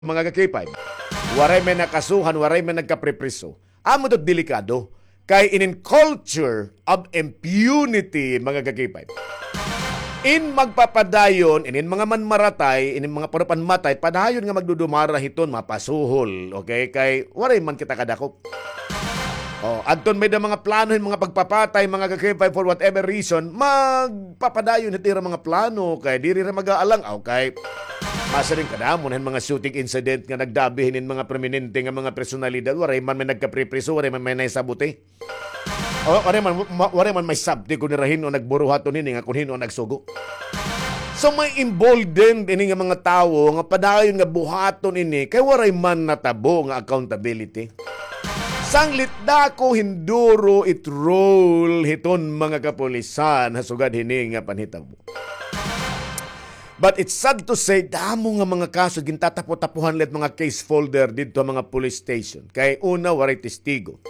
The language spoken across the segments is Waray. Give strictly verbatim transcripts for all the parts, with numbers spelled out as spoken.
mga ka-K five. Waray may nakasuhan, waray may nagkapripriso. Amo ito delikado. Kay inin culture of impunity, mga ka-K five. In magpapadayon, inin mga manmaratay, inin mga panupanmatay, padayon nga magdudumara hiton mapasuhol. Okay? Kay waray man kita kadakop. Oh, adton may da mga plano hin mga pagpapatay, mga ka-K five, for whatever reason, magpapadayon hit ira mga plano, kay diri ra mag-aalang, okay. Masiring kadamo na hin mga shooting incident nga nagdabi hinin mga prominente nga mga personalidad, waray man may nagkapripriso, waray man may nahisabuti. O, waray man, ma-, waray man may sabti kun nira hin-o nagburuhaton hini nga kun hin-o nagsugo. So, may emboldened ini nga mga tawo nga padayon nga buhaton ini kay waray man natabo nga accountability. Sanglit dako hin duro it role hiton mga kapulisan ha sugad hini nga panhitabo. But it's sad to say, damo nga mga kaso gintatapo-tapuhan la it mga case folder didto ha mga police station. Kay una, waray testigo.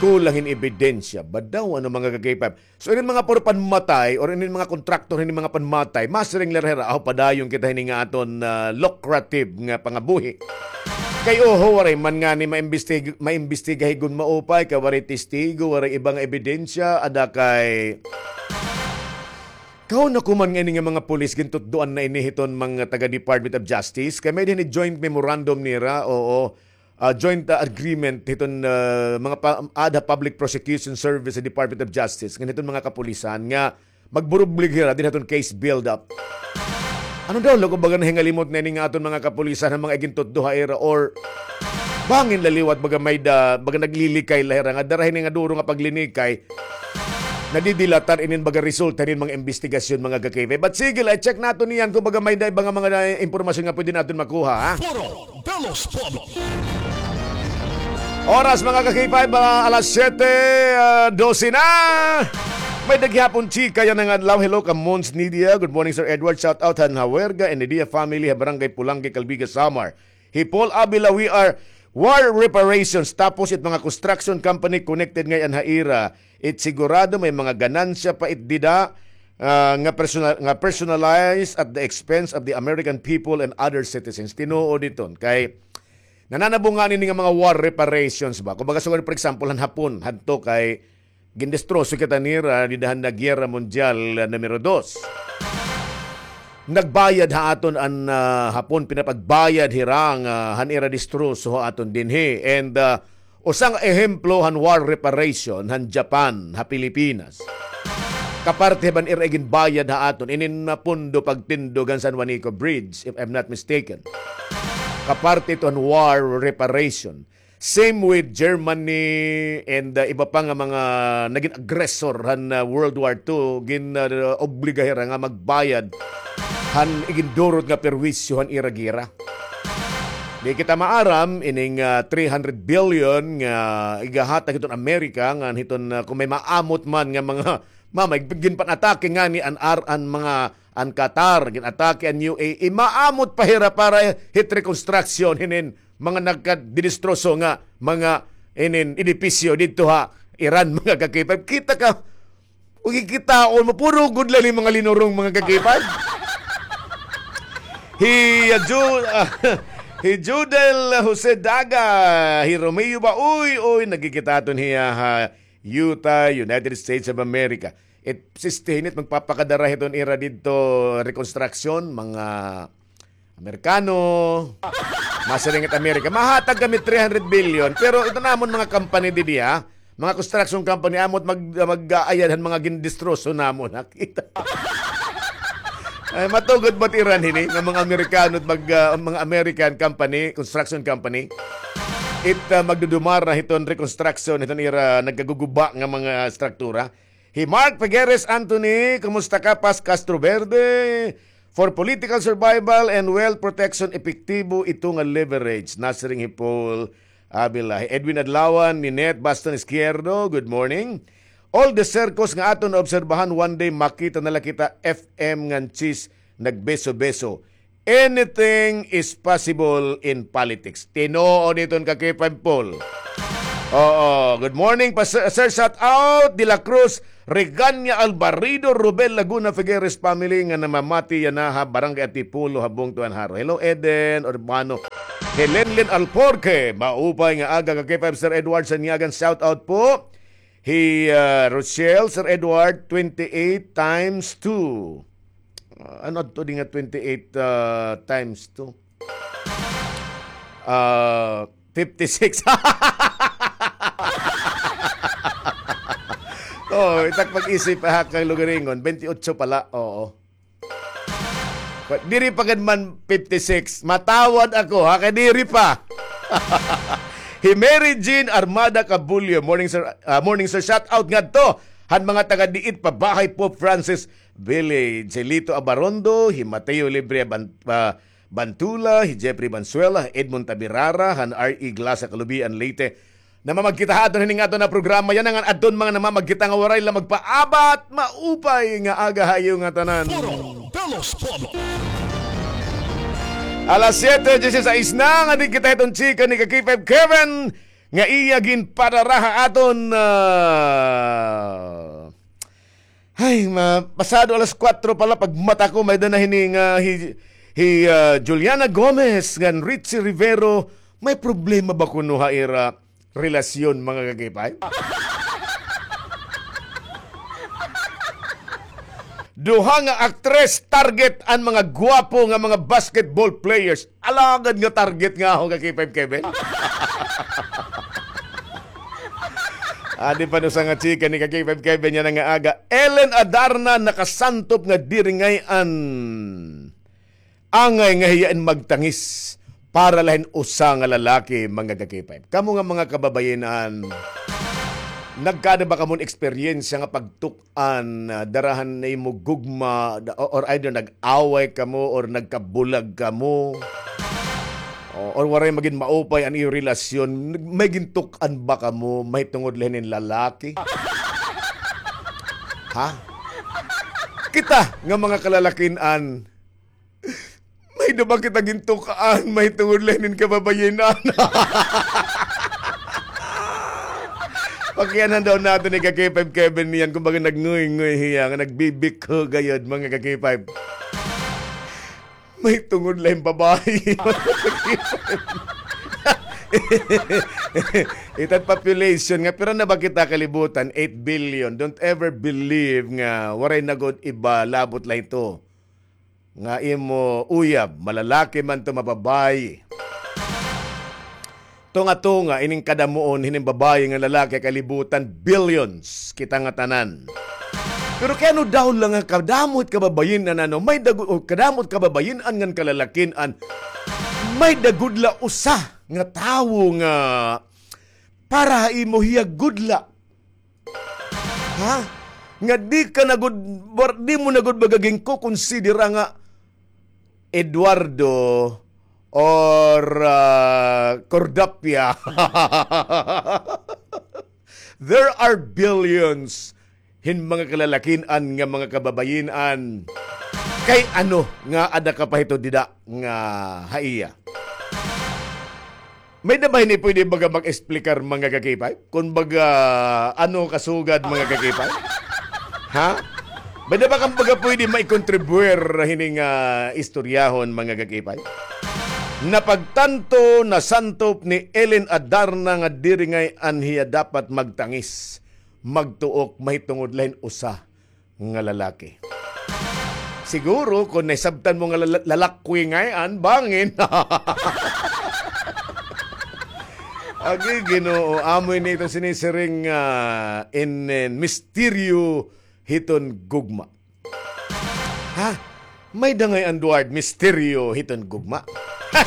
Kulang hin ebidensya. Badaw, ano, mga ka-K five. So, inin mga puro panmatay or inin mga kontraktor, inin mga panmatay, masiring la hira, aw, padayon kita hini nga aton, ah, lucrative nga pangabuhi. Kay oho, waray man ngani maimbestig-, maimbestigahi gun maupay, kay waray testigo, waray iba nga ebidensya, ada kay kahuna ko man nga ini nga mga pulis gintutdoan na ini hiton mga taga Department of Justice, kay may dinhi joint memorandum nira, oo, ah, joint, ah, agreement hiton, ah, mga pa-, ada Public Prosecution Service sa Department of Justice, ngan hiton mga kapulisan nga magburublig hira dinhi hiton case build-up. Ano daw, lago baga nahingalimot na ini nga aton mga kapulisan han mga igintutdo ha ira or bangin la liwat baga may da, baga naglilikay la hira nga dara hini nga duro nga paglinikay, nadidilatar inin baga resulta hinin mga imbestigasyon, mga ka-K five. But sige la, i-check naton iyan kun baga may da iba nga mga na-, impormasyon nga pwede naton makuha, ha? Foro de los Pueblos. Oras, mga ka-K five, ah, alas siyete, ah, dose na. May da gihapon chika yana nga adlaw. Hello, ka Mons Nidia. Good morning, Sir Edward. Shout out han Hawerga and Nidia family ha Barangay Pulangge, Calbiga, Samar. Hi Paul Avila, we are war reparations. Tapos it mga construction company connected ngay-an ha ira. It sigurado may mga ganansya pa it dida, ah, nga personal, nga personalized at the expense of the American people and other citizens. Tinuod iton kay nananabo ngani ini nga mga war reparations ba. Kumbaga, sugad, for example, han Hapon, hadto kay gindestroso kita nira dida han Guerra Mundial, ah, numero dos. Nagbayad ha aton an, ah, Hapon, pinapagbayad hira nga han ira destroso ha aton dinhi. And, ah, usa nga ehemplo han war reparation han Japan ha Pilipinas. Kaparte ban ira iginbayad ha aton inin nga pondo pagtindog han San Juanico Bridge, if I'm not mistaken. Kaparte ito han war reparation. Same with Germany and, uh, iba pa nga mga nagin aggressor han, uh, World War Two, gin, uh, obliga hira nga magbayad han igindurot nga perwisyo han ira gera. Di kita maaram ining, uh, three hundred billion nga igahatag hiton Amerika ngan hiton, uh, kon may maamot man nga mga mamay, ginpan-atake ngani an ar-, an mga, an Qatar, gin-atake an U A E, maamot pa hira para hit reconstruction hinin mga nagkadidistroso nga mga inin edipisyo didto ha Iran, mga ka-K five. Kita ka, ug kikitaon mo, puro gud la ini mga linurong, mga ka-K five. Hi, ah, Ju-, ah, hi Judel Jose Daga, hi Romeo ba? Uy, uy, nagkikita aton hiya ha Utah, United States of America. It, sistihin it magpapakadara hiton ira didto reconstruction, mga Amerikano. Masiring it Amerika. Mahatag kami three hundred billion, pero ito namon mga company didi, ha? Mga construction company, amot mag-, mag-aayad han mga gindistroso namon, ha? Kita. Ay, matugod ba it Iran hini nga mga Amerikano, mag, ah, mga American company, construction company? It, ah, magdudumara hiton reconstruction hiton ira nagkaguguba nga mga struktura. Hi Mark Figueres Anthony, kumusta ka, Paz Castro Verde? For political survival and wealth protection, epektibo ito nga leverage. Nasiring hi Paul Avila. Hi Edwin Adlawan, Ninette Baston Izquierdo, good morning. All the circus nga aton naobserbahan, one day makita na la kita F M ngan Cheese nagbeso-beso. Anything is possible in politics. Tinuod iton, ka-K five Paul. Oo, good morning pa, sir, sir. Shout out, De La Cruz, Regania, Alvarido, Rubel, Laguna, Figueres family nga namamati yana ha Barangay Antipolo, ha Bungto, Anjaro. Hello, Eden Urbano. Helenlen Alporque, maupay nga aga ka K five, Sir Edward Sanyagan, shout out po. Hi, ah, Rochelle, Sir Edward, twenty-eight times two. Ah, ano to di nga twenty-eight, ah, times two? Ah, fifty-six. Oh, itak pag-isip, ha, kang lugaringon, twenty-eight pala, oo. Diri pa gad man fifty-six. Matawad ako, ha, kay diri pa. Hi Mary Jean Armada Cabullo. Morning, sir. Ah, morning, sir. Shout out ngadto han mga taga diit pa bahay, Pope Francis Village. Hi Lito Abarondo, hi Mateo Libre Ban-, ah, Bantula, hi Jeffrey Bansuela, Edmond Tabirara, han R E Glasa, Calubian, Leyte. Namamagkita ha aton hini nga aton nga programa. Yana nga adton mga namamagkita nga waray la magpaabat. Maupay nga aga ha iyo ngatanan. Foro de los Pueblos. Alas siyete dieciséis na nga di kita hiton chika ni ka K five Kevin nga iya ginpadara ha aton, ah, ay, ma-, pasado alas kuwatro pala pagmata ko, may-ada na hini nga hi, hi, ah, Juliana Gomez ngan Richie Rivero, may problema ba kuno ha ira relasyon, mga ka-K five? Duha nga aktres target an mga gwapo nga mga basketball players. Alagad nga target nga ako ka K five Kevin. Adi pa no sa nga chika ni ka K five Kevin yana nga aga. Ellen Adarna nakasantop nga diri ngay-an angay nga hiya in magtangis para la hin usa nga lalaki, mga ka-K five. Kamo nga mga kababayin-an, nagkaada ba kamo hin eksperyensya nga pagtuk-an, ah, dara han imo gugma, da-, o-, or either nag-away kamo or nagkabulag kamo? O, or waray magin maupay an iyo relasyon, may gintuk-an ba kamo mahitungod la hinin lalaki? Ha? Kita nga mga kalalakin-an, may-ada ba kita gintuk-an mahitungod la hinin kababayin-an? Pakianan daw naton ni ka K five Kevin niyan, kumbaga nagnguy-nguy hiya, nga nagbibikho gayod, mga ka K five. Mahitungod la hin babayi. Itan population nga, pira na ba kita kalibutan? Eight billion. Don't ever believe nga waray na gud iba labot la hito nga imo uyab, malalaki man to, mababayi. Tunga-tunga, ining kadamuon hinin babayi ngan lalaki kalibutan, billions kita ngatanan. Pero kay ano daw la nga kadamo it kababayin-an, ano, may dago-, o kadamo it kababayin-an ngan kalalakin-an, may-ada gud la usa nga tawo nga para ha imo hiya gud la. Ha? Nga di ka na gud, war-, di mo na gud baga ginkukonsidera nga Eduardo or, ah, Cordapia. There are billions hin mga kalalakin-an nga mga kababayin-an. Kay ano nga ada ka pa hito dida nga ha iya? May-ada ba hini pwede baga mag-explicar, mga ka-K five? Kun baga, ano kasugad, mga ka-K five? Ha? May-ada ba kan baga pwede maikontribuir hining, ah, istoryahon, mga ka-K five? Napagtanto, nasantop ni Ellen Adarna nga diri ngay-an hiya dapat magtangis, magtuok, mahitungod la hin usa nga lalaki. Siguro, kon nahisabtan mo nga lala-, lalakwi ngay-an, bangin. Agi, Ginoo, amo ini iton sinisiring, ah, in, in misteryo hiton gugma. Ha? May-ada ngay-an, Duard, misteryo hiton gugma? Ha!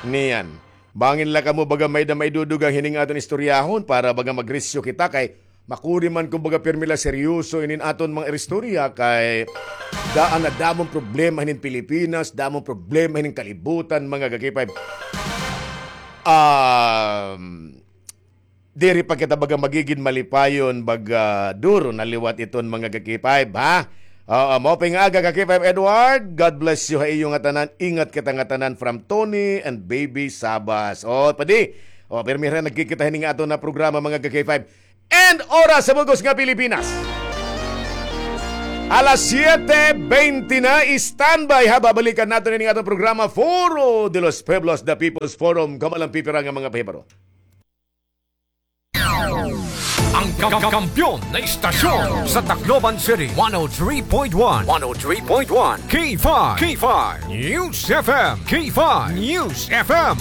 Niyan. Bangin la kamo baga may-ada maidudugang hining aton istoryahon para baga magrisyo kita kay makuri man kumbaga pirmi la seryoso inin aton mga istorya kay daan na damon problema hinin Pilipinas, damon problema hinin kalibutan, mga ka-K five. Um, diri pa kita baga magigin malipayon, baga duro na liwat iton, mga ka-K five, ha? Oo, maupay nga aga, ka-K five Edward. God bless you ha iyo ngatanan. Ingat kita ngatanan from Tony and Baby Sabas. O, padi, O, pirmi hira nagkikita hini nga aton nga programa, mga ka-K five. And oras sa bug-os nga Pilipinas. Alas siyete bente na, standby ha, babalikan naton ini nga aton programa, Foro de los Pueblos, The People's Forum. Kamo la an pipira nga mga pahibaro. Ang ka-, kampiyon na istasyon sa Tacloban City, one oh three point one, one oh three point one, K five, K five News F M, K five News F M.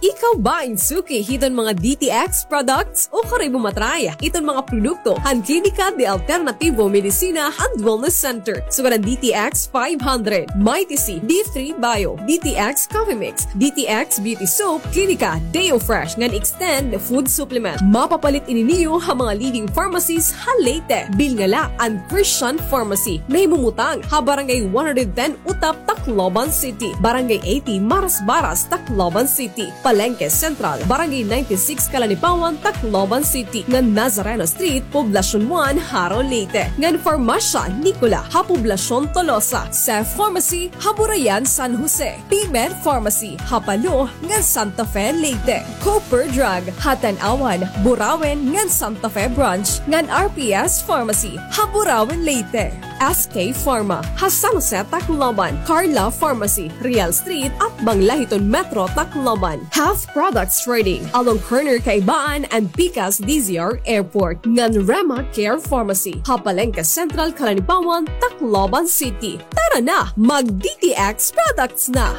Ikaw ba in suki hiton mga D T X products o karuyag mo matry iton mga produkto han Klinika de Alternativo Medicina and Wellness Center? Sugad han D T X five hundred, Mighty C, D three Bio, D T X Coffee Mix, D T X Beauty Soap, Klinika Deo Fresh ngan Extend Food Supplement. Mapapalit ini niyo ha mga leading pharmacies ha Leyte. Bilnga la an Christian Pharmacy, nahimumutang ha Barangay one hundred ten Utap, Tacloban City, Barangay eighty Marasbaras, Tacloban City, Palengke Central, Barangay ninety-six Calanipawan, Tacloban City, ngan Nazareno Street, Poblacion one, Jaro, Leyte, ngan Farmasya Nicola ha Poblacion Tolosa, Seth Pharmacy ha Burayan, San Jose, P-Med Pharmacy ha Palo ngan Santa Fe, Leyte, Cooper Drug ha Tanauan, Burauen ngan Santa Fe Branch, ngan R P S Pharmacy ha Burauen, Leyte, S K Pharma ha San Jose, Tacloban, Carla Pharmacy, Real Street, atbang la hiton Metro Tacloban, Health Products Trading along corner Kaibaan and Pikas D Z R Airport, ngan Rema Care Pharmacy ha Palengke Central, Calanipawan, Tacloban City. Tara na, mag D T X products na!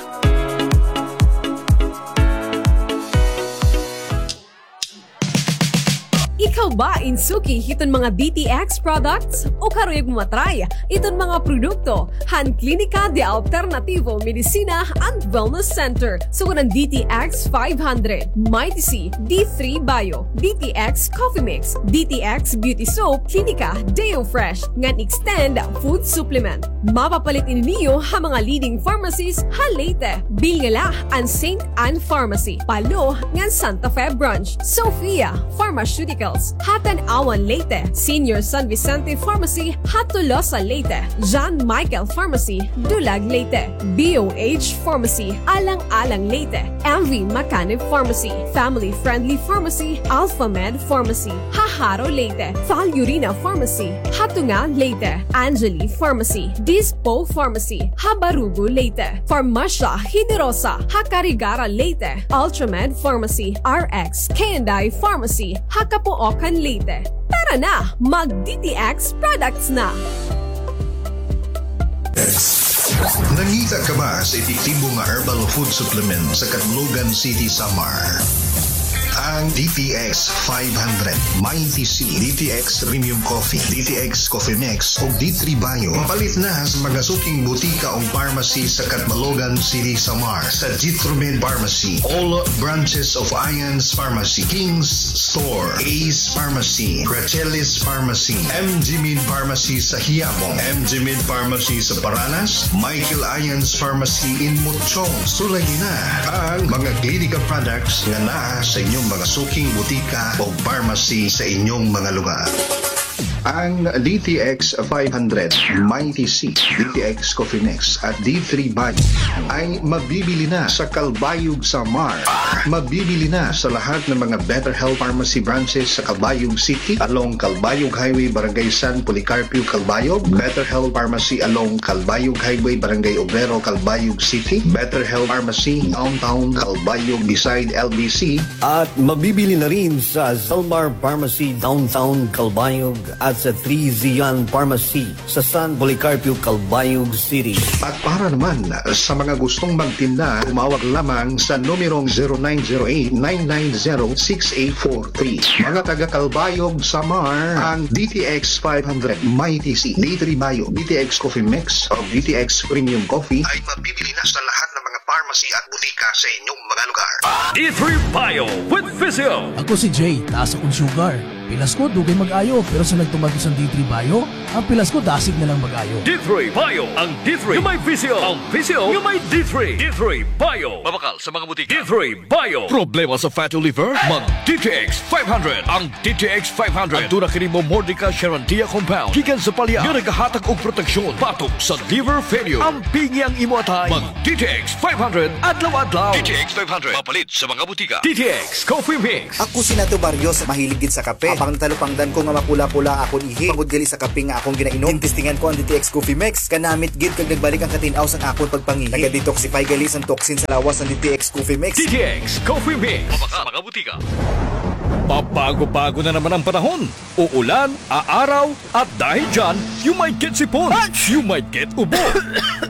Ikaw ba in suki hiton mga D T X products o karuyag mo matry iton mga produkto han Klinika de Alternativo Medicina and Wellness Center? Sugad han D T X five hundred, Mighty C, D three Bio, D T X Coffee Mix, D T X Beauty Soap, Klinika Deo Fresh, ngan Extend Food Supplement. Mapapalit ini niyo ha mga leading pharmacies ha Leyte. Bilnga la an Saint Ann Pharmacy, Palo, ngan Santa Fe Branch, Sophia Pharmaceuticals ha Tanauan, Leyte, Senior San Vicente Pharmacy ha Tolosa, Leyte, John Michael Pharmacy, Dulag, Leyte, B O H Pharmacy, Alang-alang, Leyte, M V Macanib Pharmacy, Family Friendly Pharmacy, Alpha Med Pharmacy ha Jaro, Leyte, Falurina Pharmacy ha Tunga, Leyte, Angeli Pharmacy, Dispo Pharmacy ha Barugo, Leyte, Farmasya Generosa ha Carigara, Leyte, Ultramed Pharmacy, R X K and I Pharmacy ha Capoocan, Leyte. Tara na, mag D T X products na! Nangita ka ba sa epektibo nga herbal food supplement sa Catlogan City, Samar? Ang D T X five hundred, Mighty C, D T X Premium Coffee, D T X Coffee Mix, ug D three Bio. Mapalit na sa mga suking butika o pharmacy sa Catbalogan City, Samar, sa Jitromed Pharmacy, all branches of Ions Pharmacy, King's Store, Ace Pharmacy, Rachelis Pharmacy, M G Med Pharmacy sa Quiapo, M G Med Pharmacy sa Paranas, Michael Ions Pharmacy in Mochong. Sulayi na ang mga Klinika products nga naa sa inyong mga suking butika o pharmacy sa inyong mga lugar. Ang D T X five hundred, Mighty C, D T X Coffee Mix, at D three Bio ay mabibili na sa Calbayog, Samar. Mabibili na sa lahat ng mga Better Health Pharmacy branches sa Calbayog City, along Calbayog Highway, Barangay San Policarpio, Calbayog, Better Health Pharmacy along Calbayog Highway, Barangay Obrero, Calbayog City, Better Health Pharmacy Downtown Calbayog beside L B C, at mabibili na rin sa Zalmar Pharmacy Downtown Calbayog at sa Three Zion Pharmacy sa San Policarpio, Calbayog City. At para naman sa mga gustong magtinda, tumawag lamang sa numerong zero nine zero eight, nine nine zero, six eight four three. Mga taga Calbayog, Samar, ang D T X five hundred, Mighty C, D three Bio, D T X Coffee Mix, o D T X Premium Coffee ay mabibili na sa lahat ng mga pharmacy at butika sa inyong mga lugar. D three Bio with Physio. Ako si Jay, taas akong sugar. Pilas ko, dugay mag-ayo, pero sa nagtuman ko sa D three Bio, ang pilas ko, dasig na lang mag-ayo. D three Bio, ang D three nga may visyo, ang visyo nga may D three. D three Bio. Mabakal sa mga butika. D three Bio. Problema sa fatty liver? Mag D T X five hundred. Ang D T X five hundred. Aduna kini Momordica charantia compound gikan sa palya nga nagahatag og proteksyon batok sa liver failure. Ampingi ang imo atay. Mag D T X five hundred adlaw-adlaw. D T X five hundred. Mapalit sa mga butika. D T X Coffee Mix. Ako si Nato Barrios, mahilig gid sa kape. Apang natalupangdan ko nga mapula-pula akon ihi tungod gali sa kape nga akon ginainom. Ginestingan ko an D T X Coffee Mix. Kanamit gid kag nagbalik ang katin-aw sang akon pagpangihi. Naga-detoxify gali sang toxin sa lawas ang D T X Coffee Mix. D T X Coffee Mix. Mabakal sa mga butika. Pabago-bago na naman ang panahon. Uulan, aaraw, at dahil dyan, you might get sipon. You might get ubo.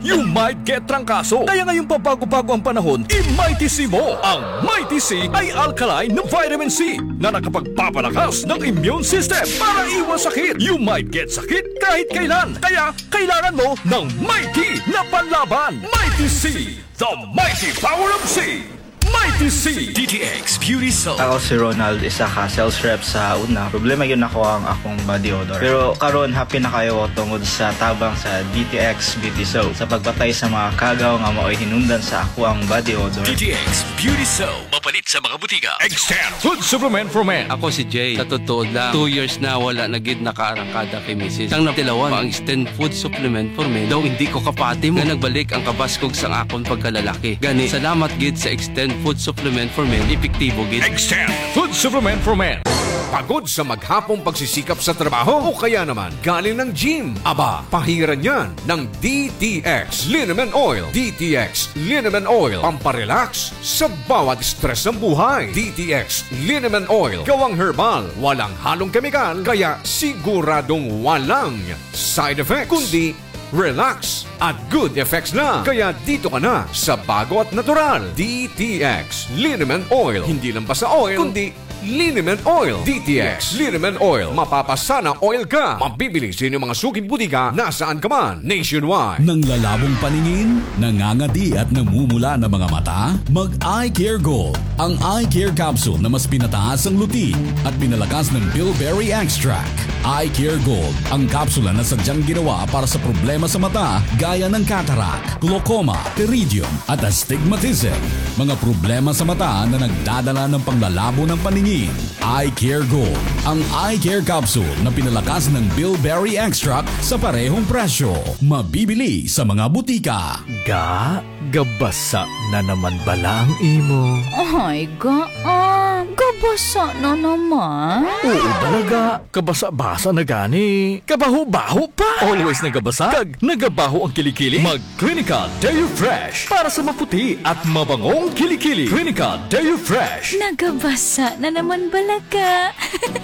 You might get trangkaso. Kaya ngayong pabago-bago ang panahon, i-Mighty C mo. Ang Mighty C ay alkaline na vitamin C na nakapagpapalakas ng immune system para iwas sakit. You might get sakit kahit kailan. Kaya kailangan mo ng Mighty na panlaban. Mighty C, the mighty power of C. Mighty C. D T X Beauty Soap. Ako si Ronald, isa ka sales rep sa una. Problema gyud nako ang akong body odor. Pero karon, happy na kaayo ko tungod sa tabang sa D T X Beauty Soap sa pagpatay sa mga kagaw nga maoy hinungdan sa akoang body odor. D T X Beauty Soap. Mapalit sa mga butika. Extend Food Supplement for Men. Ako si Jay. Sa totoo lang, two years na wala na gid nakaarangkada kay misis. Sang natilawan ang Extend Food Supplement for Men, daw hindi ko kapati mo nga nagbalik ang kabaskog sang akon pagkalalaki. Gani, salamat gid sa Extend Food Supplement for Men, epektibo gid. Extend Food Supplement for Men. Pagod sa maghapong pagsisikap sa trabaho o kaya naman galing ng gym? Aba, pahiran yan ng D T X Liniment Oil. D T X Liniment Oil, pamparelax sa bawat stress ng buhay. D T X Liniment Oil, gawang herbal, walang halong kemikal, kaya siguradong walang side effects, kundi relax at good effects lang. Kaya dito ka na sa bago at natural. D T X Liniment Oil. Hindi lang basta oil, kundi Liniment Oil. D T X Liniment Oil. Mapapasana oil ka. Mabibili sa inyong mga suking butika nasaan ka man nationwide. Nanglalabong paningin, nangangadi at namumula na mga mata? Mag Eye Care Gold. Ang Eye Care Capsule na mas pinataas ang luti at pinalakas ng bilberry extract. Eye Care Gold, ang kapsula na sadyang ginawa para sa problema sa mata gaya ng cataract, glaucoma, pterygium, at astigmatism. Mga problema sa mata na nagdadala ng panglalabo ng paningin. Eye Care Gold, ang eye care capsule na pinalakas ng bilberry extract sa parehong presyo. Mabibili sa mga butika. Ga, gabasa na naman bala ang imo? Ay, ga, ah, gabasa na naman. Oo, bala ga, kabasa-basa na gani. Kabaho-baho pa. Always nagabasa, kag nagabaho ang kilikili. Mag Clinical Deo Fresh para sa maputi at mabangong kilikili. Clinical Deo Fresh. Nagabasa na naman bala ka.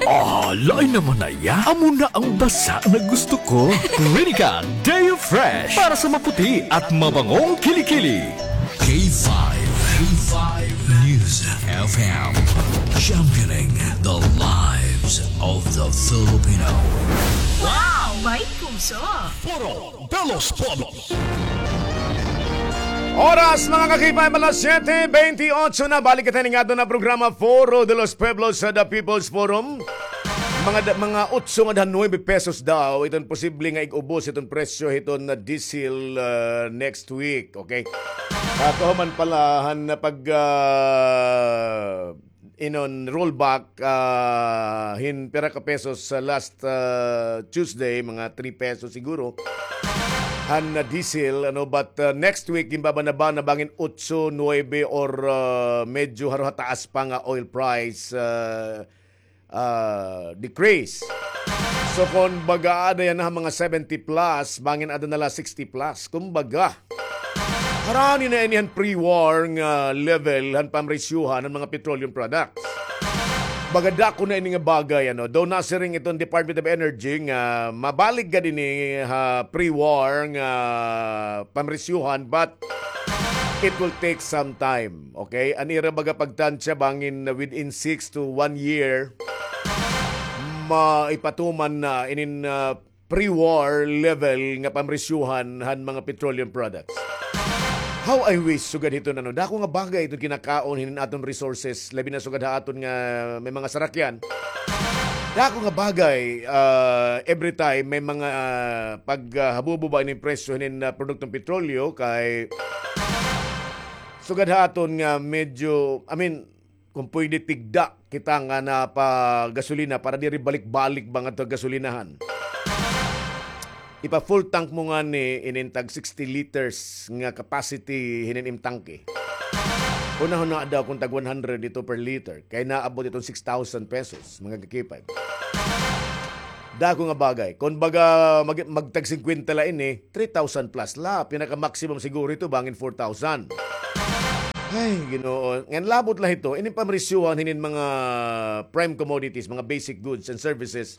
Ah, lain naman na iya. Amo na ang basa na gusto ko. Clinical Deo Fresh para sa maputi at mabangong kilikili. K five, K five News F M, championing the lives of the Filipino. Wow! May puso! Foro de los Pueblos. Oras, mga ka-K five, alas siyete bentiocho na. Balik kita ning adto na programa, Foro de los Pueblos sa The People's Forum. Mga da-, mga otso nga dahan nuebe pesos daw iton posible nga ig-ubos iton presyo hiton na diesel, ah, next week, okay? Ah, kahuman pala han pag, ah, inon rollback, ah, hin pira ka pesos sa last, ah, Tuesday, mga three pesos siguro. Han, ah, diesel, ano, but, ah, next week, ginbabana-bana bangin otso, nuebe or, ah, medyo harohataas pa nga oil price, ah, ah, decrease. So, kon baga, ada yana ha mga seventy plus, bangin ada na la sixty plus. Kumbaga, harani na ini han pre-war nga level han pamresyuhan han mga petroleum products. Baga dako na ini nga bagay, ano. Daw nasiring iton Department of Energy nga mabalik gad ini ha pre-war nga pamresyuhan, but it will take some time, okay? An ira baga pagtansya bangin within six to one year, maipatuman na inin, ah, pre-war level nga pamresyuhan han mga petroleum products. How I wish, sugad hiton, ano, dako nga bagay iton kinakaon hinin aton resources, labi na sugad ha aton nga may mga sarakyan. Dako nga bagay, ah, every time may mga, ah, pag, ah, habubo ba ini presyo hinin, ah, produktong petrolyo kay sugad ha aton nga medyo, I mean, kung pwede tigda kita nga napagasolina para diri balik-balik ba ngadto gasolinahan. Ipa-full tank mo ngani inin tag sixty liters nga capacity hinin im tangke. Hunahunaa daw kung tag one hundred ito per liter, kay naabot iton six thousand pesos, mga kakipay. Dako nga bagay. Kung baga mag-, magtag singkwenta la ini, three thousand plus la. Pinaka-maximum siguro ito, bangin four thousand. Ay, Ginoo. Ngan labot la ito, inin pamrisyuhan hinin mga prime commodities, mga basic goods and services,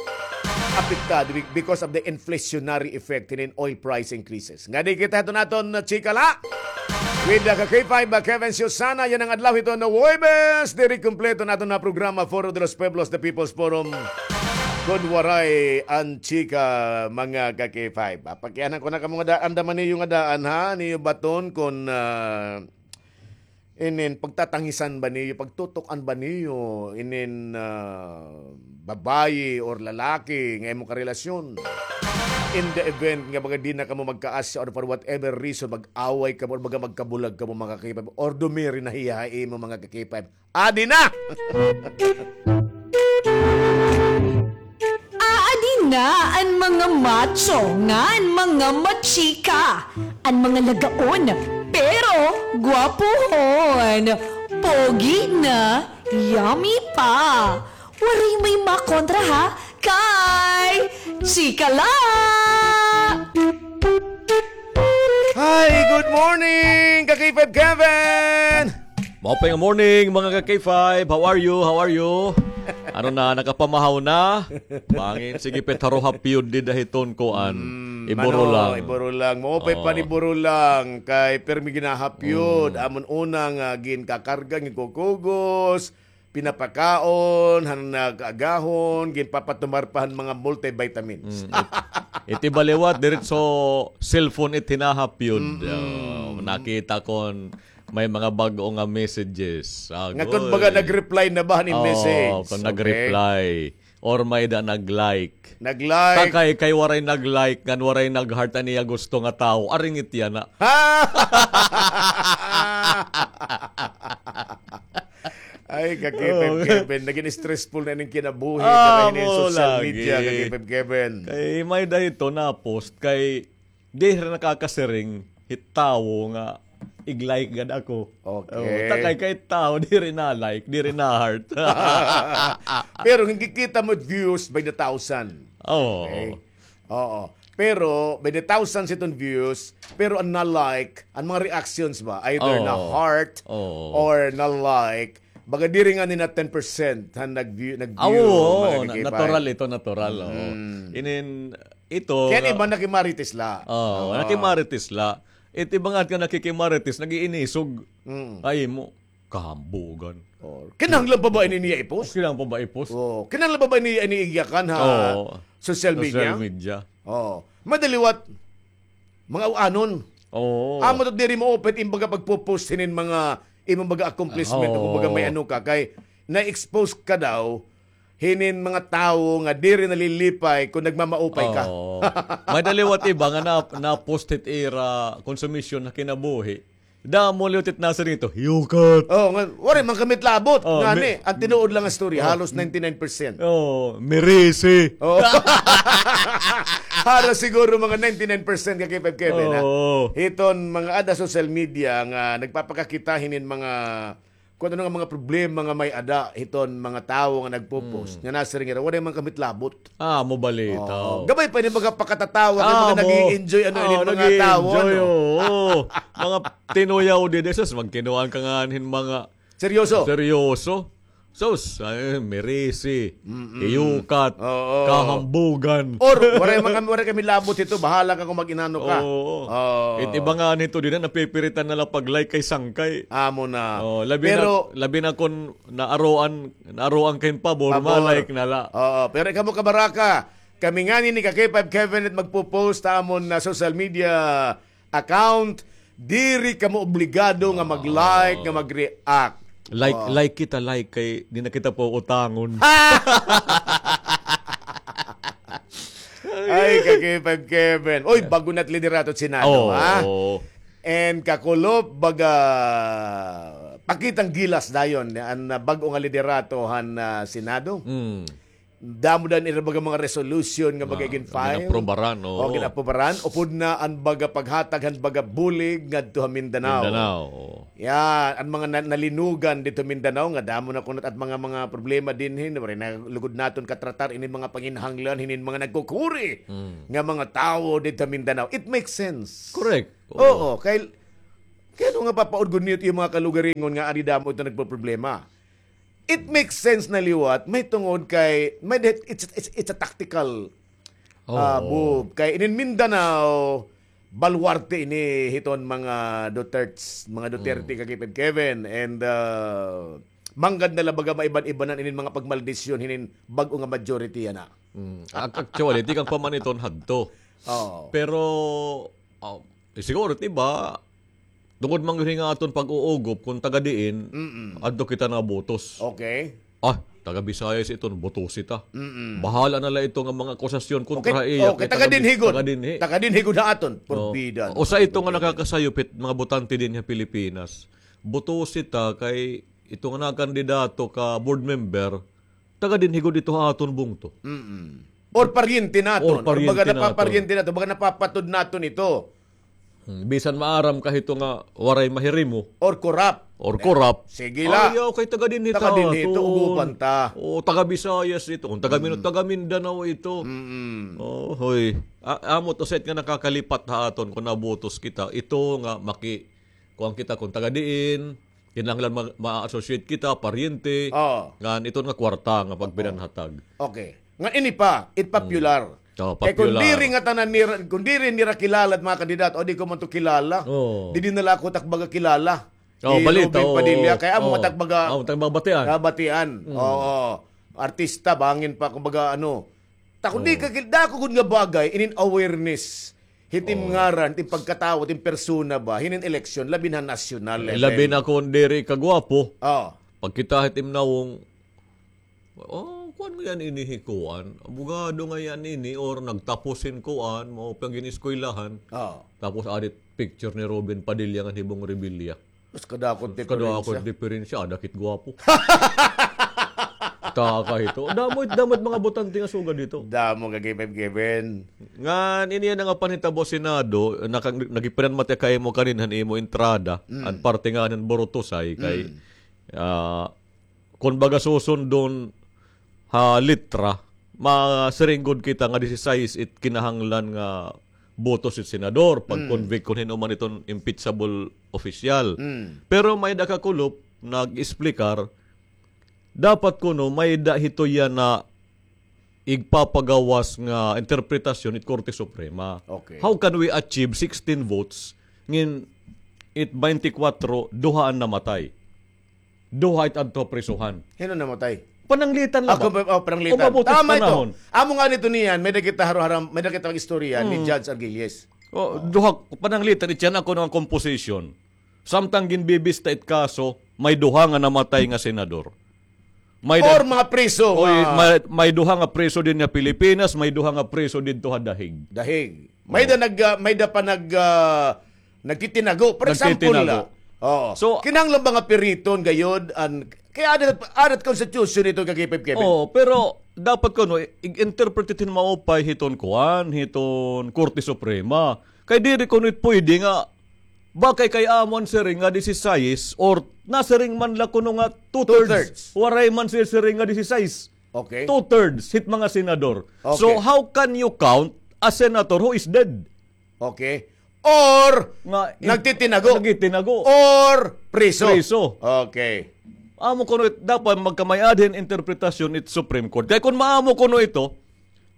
apektado be-, because of the inflationary effect hinin oil price increases. Ngadi kita hito naton, uh, chika la. With the Ka K five, uh, Kevin Susana, yana nga adlaw hito nga Huwebes, diri kumpleto naton nga programa, Foro de los Pueblos, the People's Forum. Kun waray an chika, mga Ka K five. Ah, pakianan ko na kamo nga daan, dama niyo nga daan, ha? Niyo baton kun, ah, inin pagtatangisan ba niyo, pagtutok-an ba niyo, inin, ah, babayi or lalaki nga imo karelasyon. In the event nga baga di na kamo magkaasya or for whatever reason, mag-away kamo or baga magkabulag kamo, mga Ka K five, or dumiri na hiya ha imo, mga Ka K five. Adi na! Aadi na an mga macho ngan mga machika, an mga lagaon, pero gwapohon, pogi na, yummy pa. Waray may makontra, ha? Kay chika la! Hi, good morning, Ka K five Kevin! Maupay nga morning, mga Ka K five. How are you? How are you? Ano na, nakapamahaw na? Bangin, sige, pet, haruhap yun, dida hiton kuan. Mm, Iburo ano, lang. Iburo lang. Maupay pa ni Oo. Iburo lang. Kay permi ginahap yun. Mm. Amon una nga ginkakarga, ginkukugos, pinapakaon han nag-agahon, ginpapatumar pa han mga multivitamins. Mm, it-, iti baliwat, diretso cellphone it hinahap yun. Mm-mm. Oh, nakita kon may mga bag-o nga messages. Nga kun Agoy. baga nag-reply na ba han Oh, message? kun Okay. nag-reply. Or may da nag-like. Nag-like. Takay kay waray nag-like, ngan waray nag-heart an iya gusto nga tawo. Aringit yana. Ay, Ka K five Oh. Kevin, naging stressful na ning kinabuhi, Ah, kay ning mo social lagi. media, Ka K five Kevin. Kay may da hito na-post, kay diri nakakasiring hit tawo nga ig-like gad ako. Okay. Oh, takay kay tawo, diri na-like, diri na-heart. Pero kung kikita mo views by the thousand. Oo. Okay. Oo. Pero, by the thousands iton views, pero an na-like, an mga reactions ba, either Oo. na-heart Oo. or na-like, baga diri ngani na ten percent han nag-view, nag-view, Ah, oo, mga na-, kakipay. natural ito, natural, oo. Mm. Inin, ito, Kaya na- iba nakimarites la. Oo, Oo. nakimarites la. It iba nga nakikimarites, nag-iinisog. Mm. Ay mo, kahambugan. Oh. Kinahanglan pa ba ini niya i-post? Kinahanglan pa ba i-post? Oh, kinahanglan pa ba ini, ini igyakan ha Oo. social media? Social media. Oh. Madaliwat, mga uanon. Oo. Amo to diri mo-open, imbaga pagpo-post hinin mga, imong baga accomplishment, Oo. kung baga may ano ka, kay na-expose ka daw, hinin mga tawo nga diri nalilipay kung nagmamaupay ka. Oo. Madaliwat iba nga na, na-post it ira konsumisyon ha kinabuhi. Damo liwat it nasa dito. Yukat. Oh, nga, waray man kami labot. Oh, Ngani, mi-, ang tinuod lang nga story, oh, halos ninety-nine percent. Oh, merisi. Oh. Halos siguro mga ninety-nine percent Ka K five Kevin, ha? Oo. Hiton mga ada social media nga nagpapakakita hinin mga, kung ano nga mga problema nga may ada hiton mga tawo nga nagpo-post. Mm. Nga nasiring ira, waray man kami labot. Ah, mo balita. Oo. Gamay pa ini mga pakatatawa, kay Ah, mga mo. nag-i-enjoy, ano, Oo, ini mga nag-i-enjoy, tawo, ano? oo. Mga tinuyaw di, di, sus, magkinuan ka nga hin mga Seryoso? seryoso. Sus, ay, merisi, Mm-mm. iyukat, Oo. kahambugan. Or, waray man kami, waray kami labot hito, bahala ka kung mag-inano ka. Oo. Oo. It iba nga nito, di na, napipiritan na lang pag-like kay sangkay. Amo na. Oh, labi Pero na, labi na kung naaroan, naaroan kay pabor, Pabor. ma-like na la. Oo, pero ikaw mo kabaraka, kami ngani ni Ka K five Kevin it magpo-post ta amon na social media account, diri kamo obligado nga mag-like, Oo. nga mag-react. Like, Oo. like kita, like, kay di na kita pautangon. Kay K five Kevin. Oy, bag-o na it liderato han Senado, ha? Oo. And kakulop, baga, pakitang gilas dayon an, ah, bag-o nga liderato han, ah, Senado. Mm. Damo dayon ira baga mga resolution nga baga gin-file. Gin-aprobaran, oo. O, gin-aprobaran. Upod na an baga paghatag han baga bulig ngadto ha Mindanao. Mindanao, oo. Yan, an mga na-, nalinugan didto Mindanao, nga damo na kuno it mga, mga problema dinhi, waray na lugod naton katratar ini mga panginahanglan hinin mga nagkukuri nga mga tawo didto Mindanao. It makes sense. Correct. Oo, kay, kay ano nga papaudgon niyo it iyo mga kalugaringon nga adi damo ito nagpoproblema? It makes sense na liwat, mahitungod kay, may, it's, it's, it's a tactical ah, move. Kay inin Mindanao, baluarte ini hiton mga Dutertes, mga Duterte, Kakipid Kevin, and, ah, manggad na la baga maiban-ibanan inin mga pagmaldisyon hinin bag-o nga majority yana. Mm. Ac-, actually, tikang pa man iton hadto. Oo. Pero, ah, siguro, di ba, tungod man gud nga aton pag-uugop kon taga diin, adto kita nabutos. Okay. Ah, taga Visayas iton, butusi ta. Mm-mm. Bahala na la ito nga mga akusasyon kontra ha iya. Okay, taga dinhi gud. Taga dinhi. Taga dinhi gud ha aton. Forbida. Usa ito nga nakakasayop hit mga botante dinhi ha Pilipinas. Butusi ta kay ito nga nakakandidato ka board member, taga dinhi gud ito ha aton bungto. Mm-mm. Or paryente naton. Or paryente naton. Baga napaparyente naton, baga napapatod naton ito. Hmm, bisan maaram ka hito nga waray mahirimo. Or corrupt. Or corrupt. Sige la. Ayaw kay taga dinhi ta. Taga dinhi ito, ugupan ta. O, taga Visayas ito. Kon taga Min-, taga Mindanao ito. Mm-mm. O, hoy. A-, amo to set nga nakakalipat ha aton kon nabutos kita. Ito nga maki-, kuan kita kon taga diin, kinahanglan ma-, ma-associate kita, paryente. Oo. Ngan ito nga kwarta nga pagpinanhatag. Okay. Ngan ini pa, it popular. Oh, kay kon popular. Diri nga tanan nira, kon diri nira kilala it mga kandidato, o di ko man to kilala. Oh. Diri na la ako tak baga kilala. Oh, ni balita, Robin Padilla, kay amo tak baga, amo tak baga batian. Batian. Mm. Oo. Artista, bangin pa, kumbaga, ano. Ta kon di ka kil-, dako gud nga bagay, inin awareness. Hit im ngaran, hit im pagkatawo, hit im persona ba, hinin eleksyon, labi na nasyonal level. Labi na kon diri ka gwapo. Oh. Pagkita hit im nawong, oh, kuan nga yan ini hi kuan. Abogado nga yan ini or nagtapos hin kuan, mao pa gin-eskwelahan. Oo. Tapos addit picture ni Robin Padilla ngan hi Bong Revilla. Mas kadako it diferensya. Kadako it diferensya, ada kit gwapo. Taka hito. Damo it, damo it mga botante nga sugad hito. Damo nga given, given. Ngan, ini yana nga panhitabo Senado, naka-, nagipinanmati kay imo kanin han imo entrada, an parte nga han Burutusay, kay, ah, kon baga susundon ha litra, masiring gud kita nga disisais it kinahanglan nga botos it senador, pag-convict kon hin-o man iton impeachable opisyal. Pero may-ada kakulop nag-explikar, dapat kuno may-ada hito yana igpapagawas nga interpretasyon it Korte Suprema. Okay. How can we achieve sixteen votes ngin it baynte kwatro, duha an namatay? Duha it adto ha prisuhan. Hin-o namatay? Pananglitan la ba? Ako, oh, pananglitan. Umabot it panahon. Tama ito. Amo ngani ito niyan, may-ada kita haroharam, may-ada kita mag-istorya ni Judge Argilles. Oh, duha, pananglitan, it yana kuno nga composition. Samtang ginbibista it kaso, may duha nga namatay nga senador. Or mga priso. Oy, may, may duha nga priso dinhi ha Pilipinas, may duha nga priso didto ha Dahig. Dahig. May-ada nag, ah, may-ada pa nag, ah, nagtitinago. For example la. Oo. So, kinahanglan ba nga piriton gayod an, kay adat, adat constitution ito, Kakipid Kevin. Oo, pero dapat kuno, i-, i-interpret it hin maupay hiton kuan, hiton Korte Suprema. Kay diri kuno it pwede nga, bakay kay amo an siring nga disisais or nasiring man la kuno nga two-thirds. Two-thirds. Waray man siring nga disisais. Okay. Two-thirds hit mga senador. Okay. So, how can you count a senator who is dead? Okay. Or, nga, nagtitinago. Nagtitinago. Or, priso. Priso. Okay. Amo kuno it, dapat magkamay-ada hin interpretasyon it Supreme Court. Kay kon maamo kuno ito,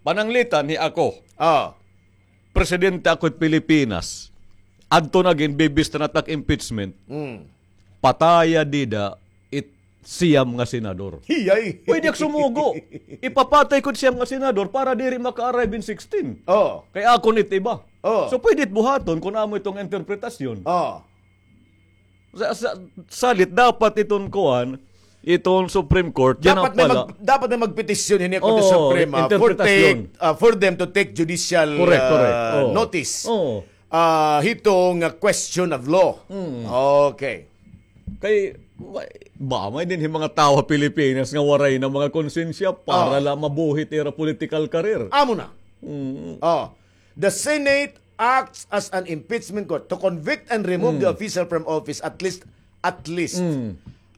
pananglitan hi ako. Ah. Presidente ako hit Pilipinas. Adto na ginbibista na tak impeachment. Mm. Pataya dida it siyam nga senador. Hiyay! Pwede ak sumugo. Ipapatay ko it siyam nga senador para diri maka-arrive in sixteen. Oh. Kay akon it iba. Oh. So, pwede it buhaton kon amo iton interpretasyon. Oh. Sa, sa, salit, dapat iton kuan, iton Supreme Court, yana pala. Dapat may mag-, dapat may magpetisyon hini kon sa Suprema for take, ah, for them to take judicial, correct, correct, ah, notice. Oo. Ah, hito nga question of law. Mm. Okay. Kay, wa-, ba, may dinhi mga tawo ha Pilipinas nga waray na mga konsensya para la mabuhi it ira political career. Amo na. Mm. Oh. The Senate acts as an impeachment court to convict and remove the official from office, at least, at least